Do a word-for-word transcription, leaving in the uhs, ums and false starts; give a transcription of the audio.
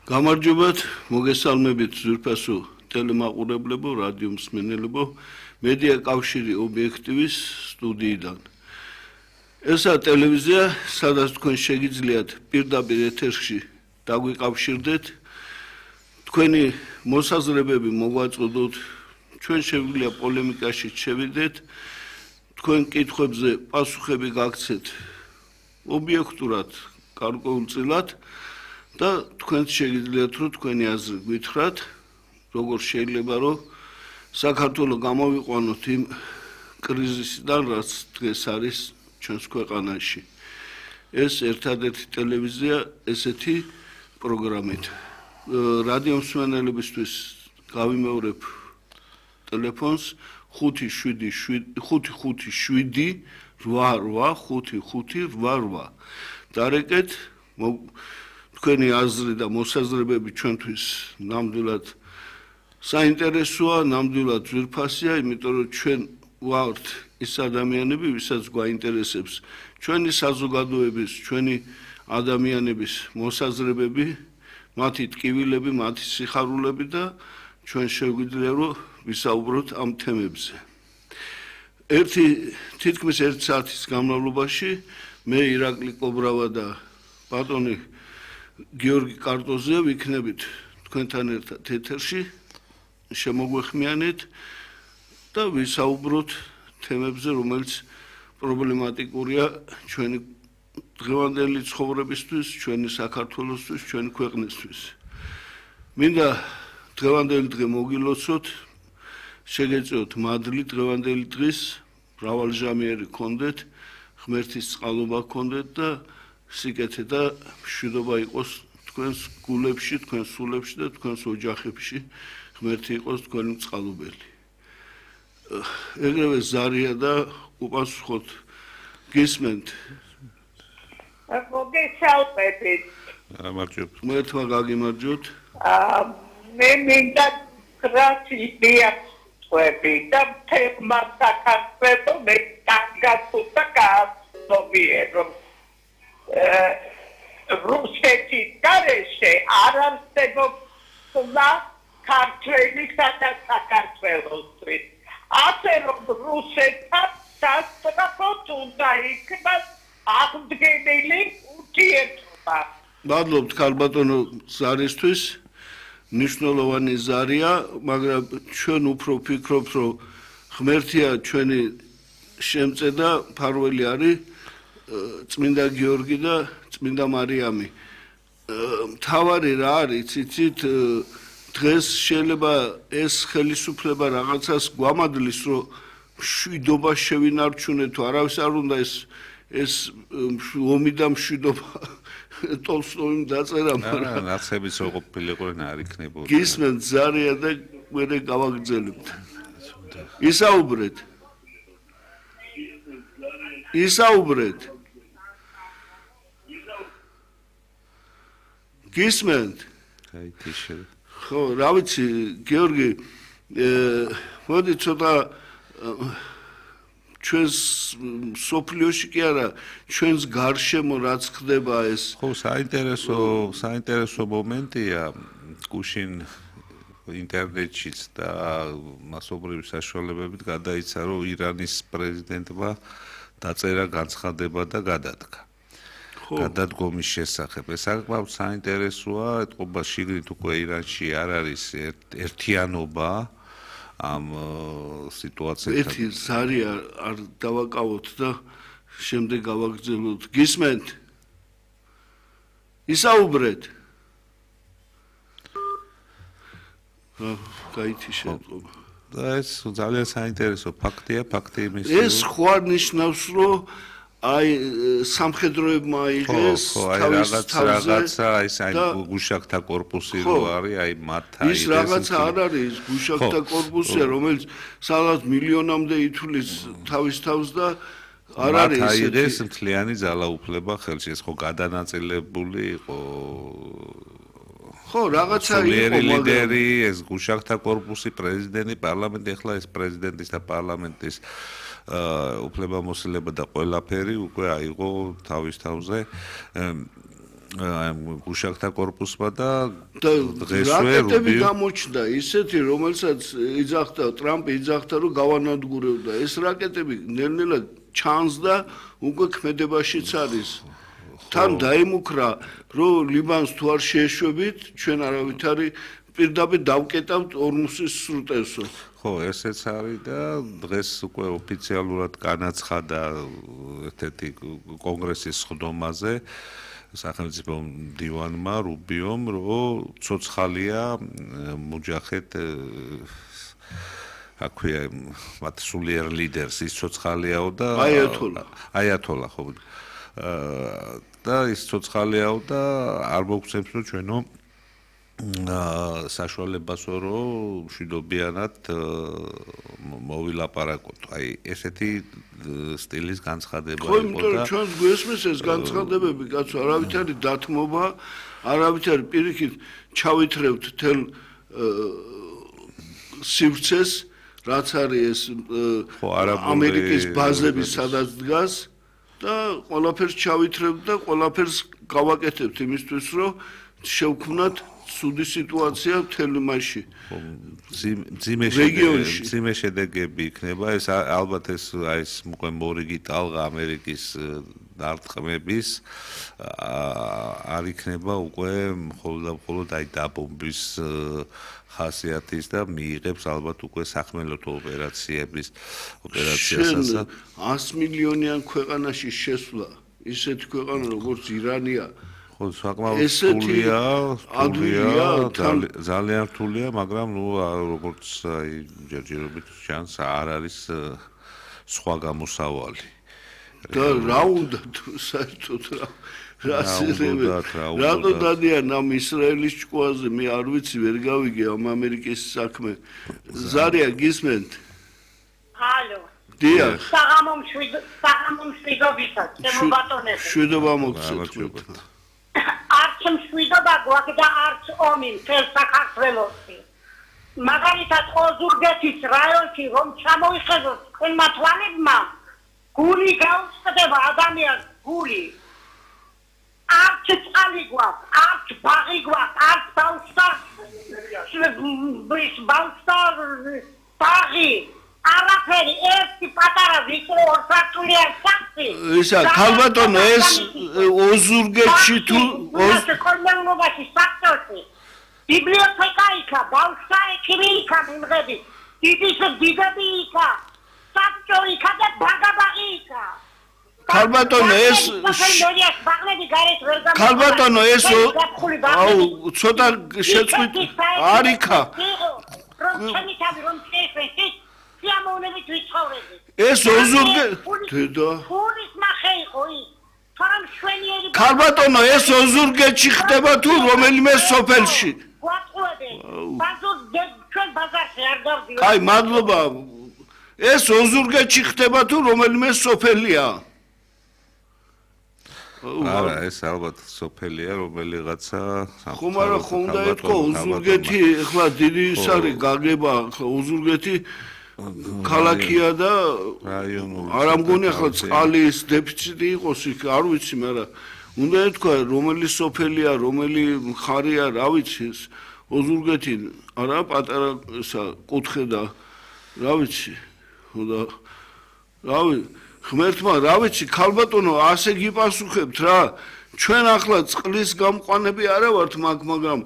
გამარჯობათ, მოგესალმებით ძვირფასო ტელემაყურებლებო, რადიო მსმენელებო, მედია კავშირი ობიექტივის სტუდიიდან. ესა ტელევიზია, სადაც თქვენ შეგიძლიათ პირდაპირ ეთერში დაგვიკავშირდეთ, თქვენი მოსაზრებები მოგვაწოდოთ, ჩვენ შეგვიძლია პოლემიკაში შევიდეთ, თქვენ კითხვებზე პასუხები გაგცეთ ობიექტურად, გარკვეულწილად და თქვენ შეგიძლიათ რომ თქვენი აზრი გითხრათ, როგორ შეიძლება რომ საქართველოს გამოვიყვანოთ იმ კრიზისიდან, რაც დღეს არის ჩვენს ქვეყანაში. ეს ერთადერთი ტელევიზია ესეთი პროგრამით. რადიო მსმენელებისთვის გავიმეორებ ტელეფონს ხუთი შვიდი ხუთი შვიდი რვა რვა ხუთი ხუთი რვა რვა. დარეკეთ თქვენი აზრი და მოსაზრებები ჩვენთვის ნამდვილად საინტერესოა, ნამდვილად ძვირფასია, იმიტომ რომ ჩვენ ვართ ის ადამიანები, ვისაც გვაინტერესებს ჩვენი საზოგადოების, ჩვენი ადამიანების მოსაზრებები, მათი ტკივილები, მათი სიხარულები და ჩვენ შეგვიძლია რომ ვისაუბროთ ამ თემებზე. ერთი თითქმის ერთი საათის განმავლობაში მე ირაკლი კობრავა და ბატონი გიორგი კარტოზია ვიქნებით თქვენთან ერთად ეთერში, შემოგვეხმიანეთ და ვისაუბროთ თემებზე, რომელიც პრობლემატიკურია ჩვენი დღევანდელი ცხოვრებისთვის, ჩვენი საქართველოსთვის, ჩვენი ქვეყნისთვის. მინდა დღევანდელი დღე მოგილოცოთ, შეგეწიოთ მადლი დღევანდელი დღის, მრავალჟამიერი გქონდეთ, ღმერთის წყალობა გქონდეთ და სიკეთე და მშვიდობა იყოს თქვენს გულებში, თქვენს სულებში და თქვენს ოჯახებში, ღმერთი იყოს თქვენი წყალობელი. ეგრევე ზარია და უპასუხოთ, გისმენთ? მოგესალმებით. გამარჯობთ. ღმერთმა გაგიმარჯოთ. მე მინდა გრაციები და თემა საქართველოს მე გაგაცუთა გააცნობიერო. რუსეთის გარეშე არ არსებობდა ქართველისა და საქართველოსთვის. ასე რომ რუსეთთან სასწრაფოდ უნდა იქნას აღდგენილი ურთიერთობა. მადლობთ ქალბატონო ზარისთვის, მნიშვნელოვანი ზარია, მაგრამ ჩვენ უფრო ვფიქრობთ, რომ ღმერთია ჩვენი შემწე და მფარველი არის წმინდა გიორგი და წმინდა მარიამი. მთავარი რა არის, იცით, დღეს შეიძლება ეს ხელისუფლება რაღაცას გვამადლის, რომ მშვიდობა შევინარჩუნეთ, თუ არავის არ უნდა ეს ეს ომი და მშვიდობა ტოლსტოიმ დაწერა, მაგრამ ნაცების ყოფილიყო არ იქნებოდა. გისმენთ ზარია და მერე გავაგრძელებთ. ისაუბრეთ. ისაუბრეთ. გისმენთ? გაითიშე. ხო, რა ვიცი, გიორგი, მოდი ცოტა ჩვენს სოფლიოში კი არა, ჩვენს გარშემო რაც ხდება ეს. ხო, საინტერესო, საინტერესო მომენტია გუშინ ინტერნეტშიც და მასობრივი საშუალებებით გადაიცა, რომ ირანის პრეზიდენტმა დაწერა განცხადება და გადადგა. გადადგომის შესახებ. ეს საკმაოდ საინტერესოა, ეთყობა შიგნით უკვე ირანში არ არის ერთიანობა ამ სიტუაციასთან. ერთი ზარია არ დავაკავოთ და შემდეგ გავაგრძელოთ. გისმენთ? ისაუბრეთ. გაითიშე ეთყობა. და ეს ძალიან საინტერესო ფაქტია, ფაქტი იმის. ეს ხო არ ნიშნავს, რომ აი სამხედროებმა აიღეს თავის თავზე რაღაცა ის აი გუშაკთა корпуსი რო არის აი მათ აიღეს ის რაღაცა არ არის გუშაკთა корпуსია რომელიც სადაც მილიონამდე ითვლის თავის თავს და არ არის ეს აიღეს მთლიანი ძალაუფლება ხელში ეს ხო გადანაწილებული იყო ხო რაღაცა იყო ლიდერი ეს გუშაკთა корпуსი პრეზიდენტი პარლამენტი ახლა ეს პრეზიდენტის და პარლამენტის უფლებამოსილება და ყველაფერი უკვე აიღო თავის თავზე გუშაკთა კორპუსმა და და დღესვე რაკეტები რუბიო გამოჩნდა ისეთი, რომელსაც იძახდა ტრამპი იძახდა, რომ გავანადგურებდა. ეს რაკეტები ნელ-ნელა ჩანს და უკვე ქმედებაშიც არის. თან დაიმუქრა, რომ ლიბანს თუ არ შეეშვებით, ჩვენ არავითარი პირდაპირ დავკეტავთ ორმუსის სრუტესო. ხო, ესეც არის და დღეს უკვე ოფიციალურად განაცხადა ერთ-ერთი კონგრესის სხდომაზე სახელმწიფო მდივანმა რუბიომ, რომ ცოცხალია მუჯახედ აქვია მათ სულიერ ლიდერს ის ცოცხალიაო და აიათოლა. აიათოლა ხო და ის ცოცხალიაო და არ მოგცემს რომ ჩვენო საშუალებასო რომ მშვიდობიანად მოვილაპარაკოთ. აი ესეთი სტილის განცხადება იყო და ხო, იმიტომ რომ ჩვენს გვესმის ეს განცხადებები, კაცო, არავითარი დათმობა, არავითარი პირიქით ჩავითრევთ თელ სივრცეს, რაც არის ეს ამერიკის ბაზები სადაც დგას და ყველაფერს ჩავითრევთ და ყველაფერს გავაკეთებთ იმისთვის, რომ შევქმნათ სუდი სიტუაცია მთელ მასში. ძიმე შედეგები, ძიმე შედეგები იქნება. ეს ალბათ ეს აი ეს უკვე მორიგი ტალღა ამერიკის დარტყმების არ იქნება უკვე მხოლოდ და მხოლოდ აი დაბომბვის ხასიათის და მიიღებს ალბათ უკვე სახმელეთო ოპერაციების ოპერაციასაც. ას მილიონიან ქვეყანაში შესვლა, ისეთი ქვეყანა როგორც ირანია ხო, საკმაოდ რთულია, რთულია, ძალიან რთულია, მაგრამ ნუ როგორც აი ჯერჯერობით ჩანს, არ არის სხვა გამოსავალი. და რა უნდა თუ საერთოდ რა რატო დადიან ამ ისრაელის ჭკუაზე, მე არ ვიცი, ვერ გავიგე ამ ამერიკის საქმე. ზარია გისმენთ? ჰალო. დიახ. საღამო მშვიდობისას, ჩემო ბატონები. მშვიდობა მოგცეთ. არც მშვიდობა გვაქვს და არც ომი მთელ საქართველოში. მაგალითად ოზურგეთის რაიონში რომ ჩამოიხედოთ თქვენმა თვალებმა, გული გაუწყდება ადამიანს, გული. არც წყალი გვაქვს, არც ბაღი გვაქვს, არც ბავშთა ბავშთა ბაღი. არაფერი, ერთი პატარა ვიწრო ორსართულიან სახლი. ისა, ქალბატონო, ეს ოზურგეთში თუ კოლმეუნობაში საქმეში. ბიბლიოთეკა იქა, ბავშთა ექიმი იქა მიმღები. დიდის დიდები იქა. საბჭო იქა და ბაგაბაღი იქა. ქალბატონო, ეს ქალბატონო, ეს აუ, ცოტა შეწყვით არ იქა. რომ ჩემი თავი რომ შეეშვეს სიამოვნებით ვიცხოვრები. ეს ოზურგე დედა. ფულის მახე იყო ის. თორემ შვენიერი ქალბატონო, ეს ოზურგეთში ხდება თუ რომელიმე სოფელში? გვაწყვეტე. ბაზარ ჩვენ ბაზარში არ დავდივარ. კაი, მადლობა. ეს ოზურგეთში ხდება თუ რომელიმე სოფელია? არა, ეს ალბათ სოფელია, რომელიღაცა ხომ არა, ხომ და ეთქო ოზურგეთი, ეხლა დიდი ის არის გაგება, ოზურგეთი ქალაქია და არა მგონი ახლა წყალის დეფიციტი იყოს იქ, არ ვიცი, მაგრამ უნდა ეთქვა რომელი სოფელია, რომელი მხარეა, რა ვიცი, ოზურგეთი არა პატარა ესა კუთხე და რა ვიცი, და რა ვიცი, ღმერთმა რა ვიცი, ქალბატონო, ასე გიპასუხებთ რა, ჩვენ ახლა წყლის გამყვანები არა ვართ მაგ, მაგრამ